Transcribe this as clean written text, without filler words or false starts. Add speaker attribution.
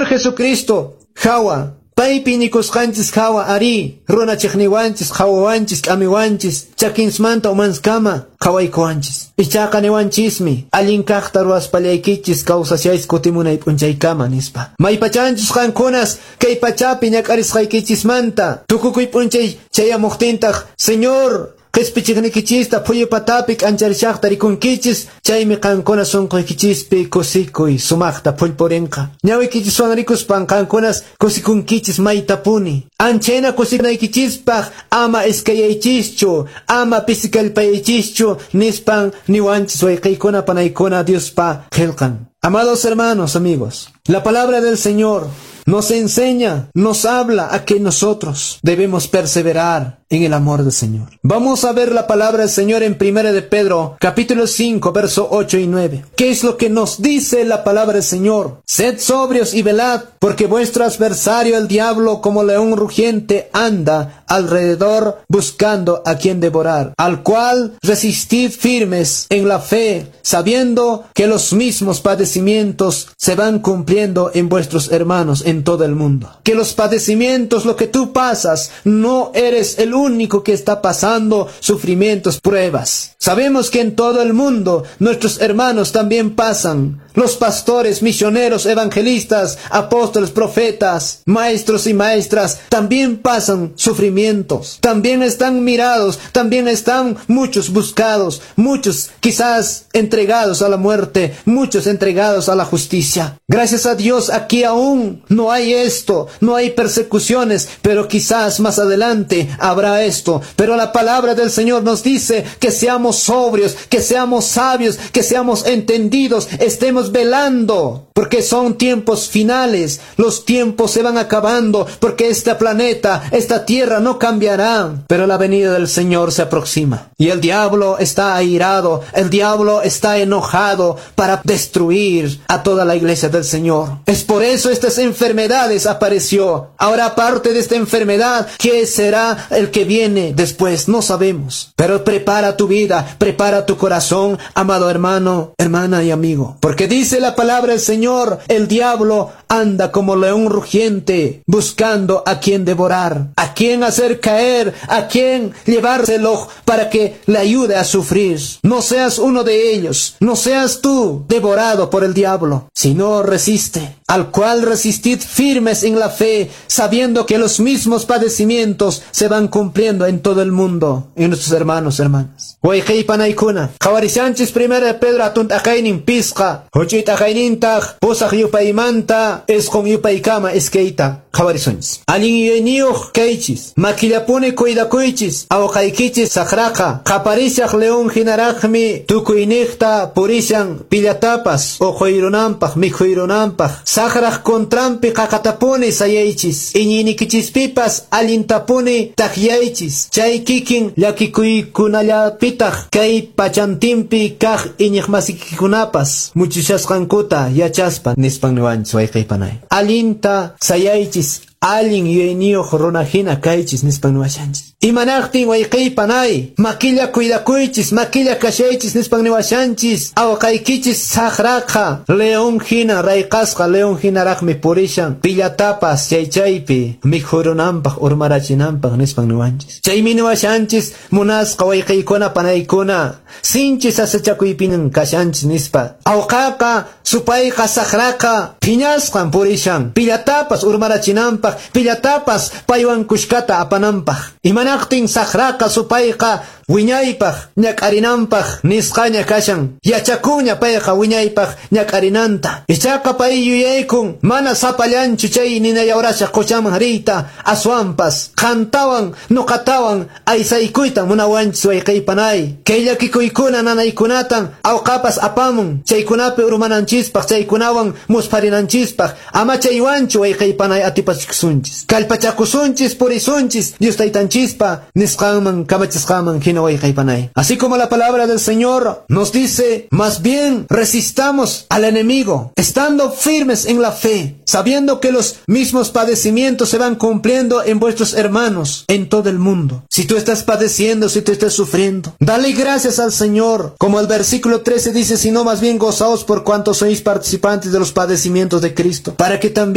Speaker 1: Señor Jesucristo hawa, paypi iñikusqanchis hawa arí, runa chiqniwanchis, qhawawanchis, k'amiwanchis, chakinsmanta umanskama qhawaykuwanchis. Ichaqa niwanchismi, allin kaqta ruwaspallaykichis kawsashaychis kutimunay p'unchaykama nispa. Maypachanchus qankunas kay pachapi ñak'arisqaykichismanta tukukuy p'unchay chayamuqtintaq Señor qhispichiqnikichista phuyu patapi k'ancharishaqta rikunkichis, chaymi qankuna sunquykichispi kusikuy sumaqta phullpurinqa. Ñawiykichiswan rikuspan qankunas kusikunkichis maytapuni. Anchayna kusikunaykichispaq ama iskayaychischu, ama pisikallpayaychischu nispan niwanchis wayqiykuna panaykuna Diospa qillqan. Amados hermanos, amigos, la palabra del Señor nos enseña, nos habla a que nosotros debemos perseverar en el amor del Señor. Vamos a ver la palabra del Señor en 1 de Pedro, capítulo 5, verso 8 y 9. ¿Qué es lo que nos dice la palabra del Señor? Sed sobrios y velad, porque vuestro adversario el diablo, como león rugiente, anda alrededor buscando a quien devorar, al cual resistid firmes en la fe, sabiendo que los mismos padecimientos se van cumpliendo en vuestros hermanos en todo el mundo. Que los padecimientos, lo que tú pasas, no eres el único que está pasando sufrimientos, pruebas. Sabemos que en todo el mundo nuestros hermanos también pasan. Los pastores, misioneros, evangelistas, apóstoles, profetas, maestros y maestras también pasan sufrimientos. También están mirados, también están muchos buscados, muchos quizás entregados a la muerte, muchos entregados a la justicia. Gracias a Dios aquí aún no hay esto, no hay persecuciones, pero quizás más adelante habrá esto. Pero la palabra del Señor nos dice que seamos sobrios, que seamos sabios, que seamos entendidos, estemos velando, porque son tiempos finales, los tiempos se van acabando, porque este planeta, esta tierra no cambiará, pero la venida del Señor se aproxima. Y el diablo está airado, el diablo está enojado para destruir a toda la iglesia del Señor. Es por eso estas enfermedades apareció. Ahora, aparte de esta enfermedad, ¿qué será el que viene después? No sabemos. Pero prepara tu vida, prepara tu corazón, amado hermano, hermana y amigo. Porque dice la palabra del Señor, el diablo anda como león rugiente, buscando a quien devorar, a quien hacer caer, a quien llevárselo para que le ayude a sufrir. No seas uno de ellos, no seas tú devorado por el diablo, sino resiste, al cual resistid firmes en la fe, sabiendo que los mismos padecimientos se van cumpliendo en todo el mundo, en nuestros hermanos, hermanas. Wayqi panaykuna, qhawarishanchis 1 de Pedro hatun t'aqaynin pisqa, huch'uy t'aqaynintaq pusaq yupaymanta isqun yupaykama iskayta qhawarisunchis. Allin yuyayniyuq kaychis, makillapuni cuidakuychis, awqaykichis saqraqa, qaparishaq león hinaraqmi tukuyniqta purishan pillatapas uquyrunanpaq mikhuyrunanpaq, saqraq contranpi qaqatapuni sayaychis, iñiynikichispipas allintapuni takyaychis, chay kikin llakikuykunallapitaq kay pachantinpi kaq iñiqmasikikunapas muchushasqankuta yachaspa nispan niwanchis wayqiypanay. Allinta sayaychis, allin yuyayniyuq runa hina kaychis nispan niwashanchis. Imanaqtin wayqiypanay, makilla cuidakuychis, makilla kashaychis nispan niwashanchis, awqaykichis saqraqa león hina rayqasqa león hinaraqmi purishan, pillatapas chay chaypi mikhurunanpaq urmarachinanpaq nispan niwanchis. Chaymi niwashanchis munasqa wayqiykuna panaykuna, sinchi sasachakuypinan kashanchis nispa. Awqaqa supayqa saqraqa phiñasqan purishan, pillatapas urmarachinanpaq, pillatapas paywan kushkata apananpaq. Imanaqtin saqraqa supayqa wiñaypaq ñak'arinanpaq nisqaña kashan, yachakuña payqa wiñaypaq ñak'arinanta. Ichaqa pay yuyaykun mana sapallanchu chay ninayawrashaq quchaman riyta, aswanpas qantawan nuqatawan aysaykuyta munawanchis wayqiypanay. Kay llakikuykuna nanaykunatan awqapas apamun chaykunapi urmananchispaq, chaykunawan muspharinanchispaq. Ama chaywanchu wayqiypanay atipachikusunchis, kallpachakusunchis, purisunchis Dios taytanchispa nisqanman kamachisqanman hina wayqiypanay. Así como la palabra del Señor nos dice, más bien resistamos al enemigo, estando firmes en la fe, sabiendo que los mismos padecimientos se van cumpliendo en vuestros hermanos en todo el mundo. Si tú estás padeciendo, si tú estás sufriendo, dale gracias al Señor. Como el versículo 13 dice, sino más bien gozaos por cuanto sois participantes de los padecimientos de Cristo, para que también